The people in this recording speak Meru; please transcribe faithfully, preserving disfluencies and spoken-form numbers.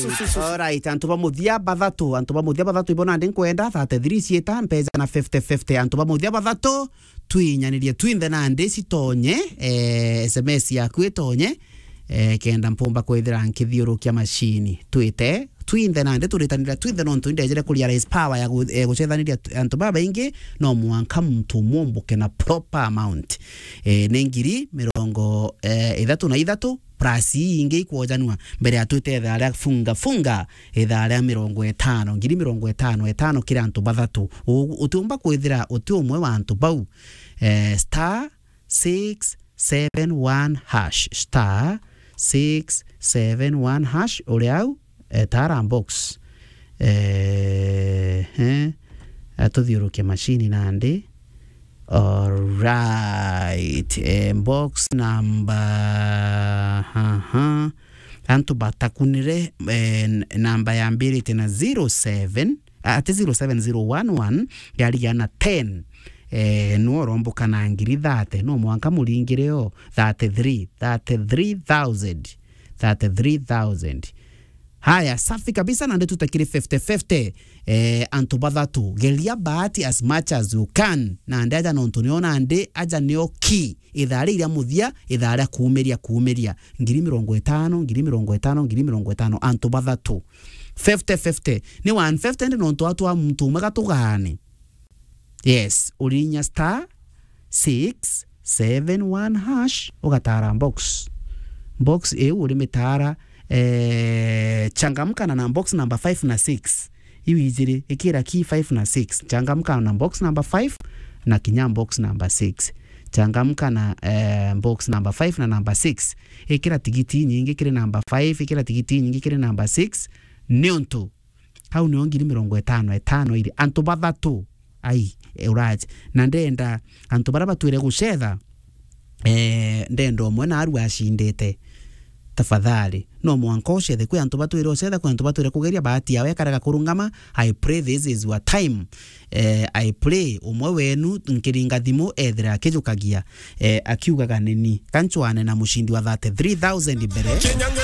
Alright, antu ba muthia bathatu, antu ba muthia bathatu ibo nandi nkwenda thirty-three ciita mbeca na fifty fifty. Antu ba muthia bathatu, twinyanirie twinthe nandi citonye, eh, S M S yaku itonye, eh, kenda mpumba kwithira nkithiurukia macini. Twite twinthe nandi, turitanira twinthe, nontu indejere ku realize power ya gu-, eh, gucethaniria t-, antu babaingi, no mwanka muntu umwe umbuke na proper amount. Eh, ni ngiri mirongo, eh, ithatu na ithatu, plus ii ingi ikwojanua mbere ya twite ithaa ria funga funga, ithaa ria mirongo itano, ngiri mirongo itano, itano kiri antu bathatu. U-, utiumba kwithira uti umwe wa antu bau. Eh, star six seven one hash, star six seven one hash, uri au, eh, tara box. Eh, eh, atuthiurukie macini nandi. Alright. Eh, box number, aha. Antu batakunire, eh, n-, namba yambirite na zero seven, ah, ati zero seven zero one one, yarigia na ten. Eh, no uromboka na ngiri thirty, no mwanka muringire o thirty-three, thirty-three thousand, thirty-three thousand. Haya, safi kabisa, nandi tutakiri fifty fifty. Eh, antu bathatu, geria bahati as much as you can. Nandi aja nontu nio nandi aja nio ki. Ithaa ria iria muthia, ithaa ria kuumiria, kuumiria. Ngiri mirongo itano, ngiri mirongo itano, ngiri mirongo itano, antu bathatu. Fifty fifty. Ni one fifty ndi nontu atu a muntu umwe gatugane. Yes, urinya star six seven one hash, ugatara box. Box iu urimitara, eh, changamka na, na box number five na six. Iu ijiri, ikira ki five na six. Changamka na box number five na kinya box number six. Changamka na, eh, box number five na number six. Ikira tigiti nyingi kiri number five, ikira tigiti nyingi kiri number six. Niuntu Au nio ngiri mirongo itano itano iri. Antu bathatu. Ai, e, uraje. Na ndenda antu baria batwire gucetha, eh, ndenda umwe naarua acindite. Tafadhali. No mwanka ucethe. Kwi antu batwire ucetha, kwi antu batwire kugeria bahati yao ikarega kurungama. I pray this is your time. Eh, I pray umwe wenu nkiringa thimu ethira akijukagia, eh, akiugaga, "Nini, ka ncwane na mucindi wa thirty-three thousand mbere."